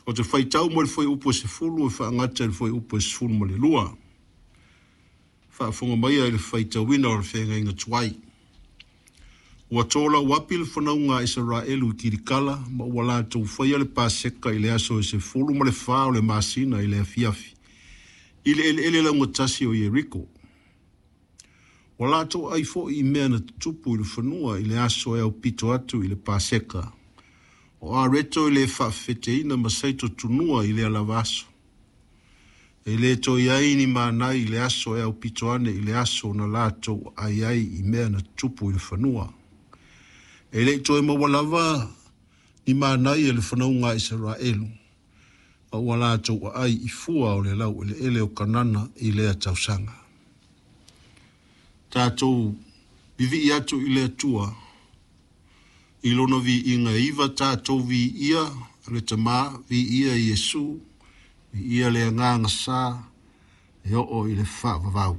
Ou te faitau mai le fuaiupu e 10 e faagata i le fuaiupu e 12. Faafofoga maia i le faitauina o le feagaiga tuai. Ua tolauapi le fanauga a Isaraelu i Kilikala ma ua latou faia le Paseka i le aso e 14 o le masina i le afiafi i le eleele laugatasi o Ieriko. Ua latou ai foi i mea na tutupu i le fanua i le aso e aupito atu i le Paseka. O areto e le faafefeteina ma saito tunua i lea lava aso. E le toe i ai ni manai i le aso e aupito ane i le aso na latou ai ai i mea na tutupu i le fanua. E le i toe maua lava ni manai e le fanauga a Isaraelu, a ua latou aai i fua o le laueleele o Kanana i lea tausaga. Tatou vivii atu i le Atua i lona viiga e iva tatou viia le Tamā, viia Iesu, viia le Agaga Sa e oo i le faavavau.